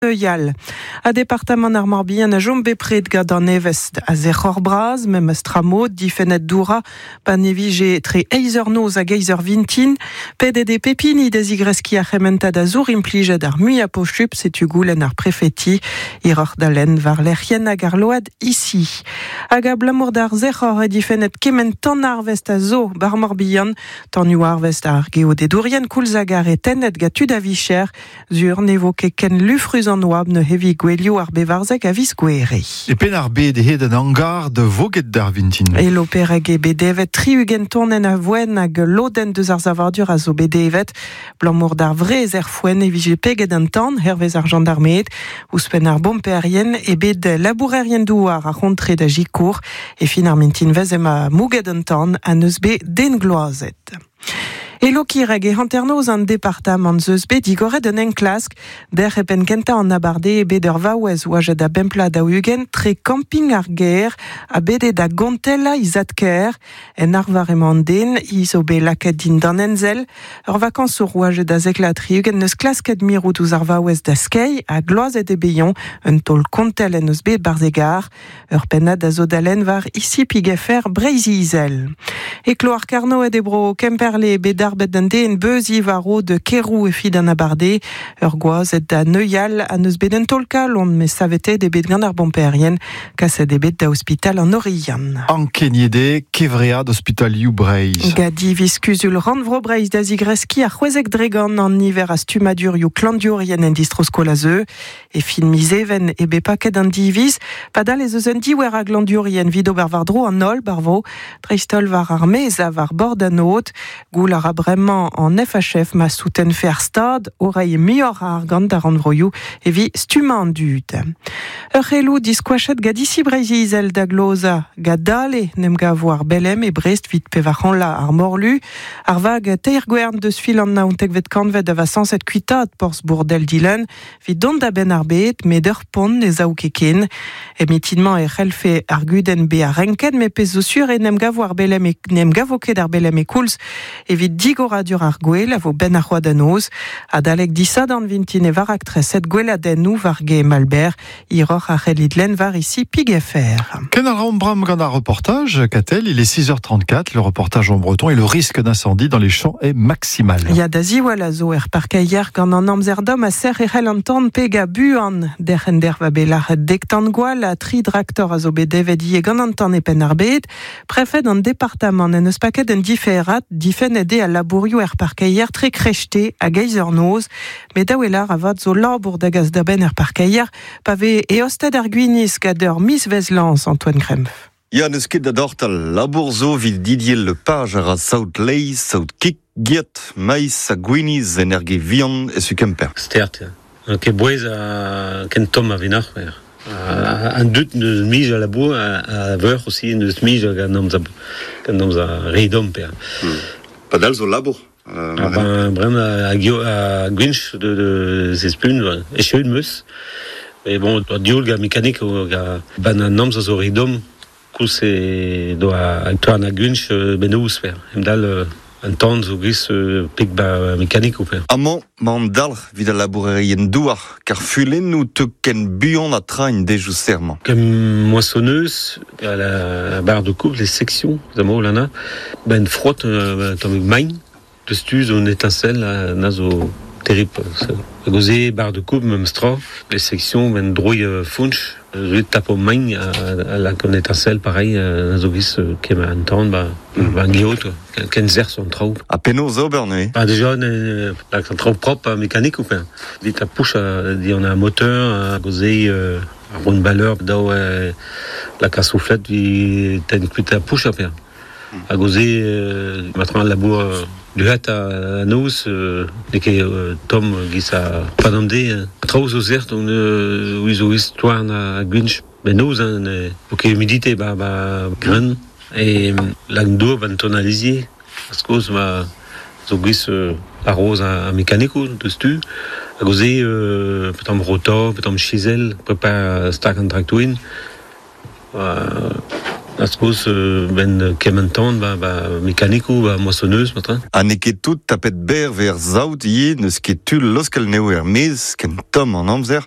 Yal. A departamant ar Morbihan a jom bepred gant an evezh a zec'hor bras, memes tra mod difennet doura, pa ne vije tre eizh eur noz hag eizh eur vintin, pedet eo pep hini da zigreskiñ ar c'hementad a zour implijet ar muiañ posupl, setu goulenn ar prefeti, hiroc'h da lenn war lec'hienn hag ar load ici. Hag abalamour d'ar sec'hor eo difennet kement tan-arvest a zo bar Morbihan, tanioù-arvest ar geodedourien koulz hag ar re tennet gant tud a vicher, Sur ne vo ket ken lufrus an oabl neuze evit gouelioù ar bevarzek a viz Gouhere. E Penn-ar-Bed eo an hangar da voged d'ar vintin. E Lopereg eo bet devet 60 tonenn a voenn hag ul lodenn deus ar savadur a zo bet devet. Abalamour d'ar wrez er foenn e vije peget an tan, hervez ar jandarmed. Ouzhpenn ar bomperien eo bet labourerien-douar ar c'hontre da sikour. E fin ar mintinvezh emañ mouget an tan ha n'eus bet den gloazet. E Lokireg e hanternoz an departamant 'z eus bet digoret un enklask. Dec'h e penn kentañ an abardaez eo bet ur vaouez oajet a bemp plat daou-ugent tre kamping ar gêr ha bet eo da gontellañ he zad-kaer. En arvar emañ an den, hi zo bet lakaet dindan ensell. Ur vakañsour oajet a zek vloaz 60 n'eus klasket mirout ouzh ar vaouez da skeiñ ha gloazet eo bet-eñ. Un taol kontell en deus bet 'barzh e gar. Ur pennad a zo da lenn war ICPGFR Breizh-Izel. E kloar Karnoed e bro Kemperle bet darbet d'an den beuziñ war rod Kerou evit an abardaez. Ur gwaz da neuial ha n'eus bet un taol-kalon met saveteet eo bet gant ar bomperien. Kaset eo bet da ospital an Oriant. Ankeniet eo kevread ospitalioù Breizh. Gant diviz kuzul rannvro Breizh da zigreskiñ ar 16% an niver a stummadurioù klañvdiourien en distro-skol a zeu. E fin miz Even eo bet paket an diviz, padal ez eus un diouer a glañvdiourien evit ober war-dro an holl barvo, dreist-holl war ar maez ha war bord an aod. Goul a ra bremañ an FHF ma soutenfe ar Stad o reiñ muioc'h a argant d'ar rannvroioù evit stummañ an dud. Ur c'heloù diskoachet gant Disi Breizh-Izel da glozañ gant dale n'em gavo ar Belem e Brest evit pevarc'hanlañ ar morlu. Ar vag teir-gwern deus fil an naontekvet kantved a va sañset kuitaat porzh Bourdel Dilenn Evit dont da benn ar bed, met ur pont ne sav ket ken. E mitin-mañ e c'hellfe ar gudenn bezañ renket, met pezh zo sur eo n'em gavo ar belem e, n'em gavo ket ar belem e koulz evit digoradur ar gwel a vo benn ar c'hoad da noz. Adalek disadorn vintin e va raktreset gweladennoù war gê Malbert. Hiroc'h a c'hellit lenn war ici Pig.fr. Ken a raomp bram gant ar reportage, Katell, il est 6h34, le reportage en breton et le risque d'incendie dans les champs est maximal. Ya da ziwall a zo er parkeier gant an amzer domm ha sec'h e c'hell an tan pegañ buan. Derc'hen derv a bet lâret dek tan gwall ha tri draktor a zo bet devet ivez gant an tan e Penn-ar-Bed. Prefed an departamant en deus paket un diferad, difennet eo al labourioù er parkeier tre krechte hag eizh eur noz. Met daou e lâr avat zo labour da gas da benn er parkeier pa vez eostet ar gwinizh gant ur mizvezh lañs Antoine Krempf. Ya, n'eus ket da dortal. Labour zo evit Didier Lepage a ra saout laezh, saout kig, geot, maiz ha gwinizh en Erge Vihan e su Kemper. Stert, ya. Ket bouez a ken tomm a venac'h. An dud n'eus mui a labour a veur aussi n'eus mui gant amzer gant amzer re domm. Padal zo labour. Ah ben bremañ a gwinch de zespun echeun 'meus. Mais bon, dioul gant mekanik ban an amzer zo re domm koulz e doa toan a gwinch benoz per. Emdal an tan zo gis peg ba mekanik per. Amañ 'ma an dalc'h evit al labourerien douar kar fulennoù teu ken buan ha tra en dejoù serr-mañ. Ken moissonneuse à la barre de coupe, les sections, lana, ben frot tammig main Deus tu zo un étincelle na zo terrible. Hag oze barre de coupe memes tra, les sections ben droiñ founch, zo tapo main a lak un étincelle pareil na zo giz kem an tan ba ba geot ken serzh an traoù. Ha penaos ober neuze? Ba déjà lak an traoù propre mécanique ou quoi. Dit la pouche dit on a un moteur hag oze ar rondballeur daou lak ar soufflet vi tenn kuit ar pouch a Hag o-se, ma al labour duhet a noz, n'eo ket tomm giz a pad an deiz. Traoù zo sert, on zo istoar a gwinch benoz, hein, n'eo ket humidité ba, ba grenn. E lak dour ban tonalizier, a-skoz ma zo giz a-raoz ar mekanikoù deus tu. Hag o-se, petamp rotor, petamp chisel, prepar stag an traktourien. A-skoz benn kement tan ba, ba mekanikoù, ba moissonneuse matra. Ha n'eo ket tout tapet berr 'vez ar saout ivez, n'eus ket tu laoskel anezho er-maez ken tomm an amzer.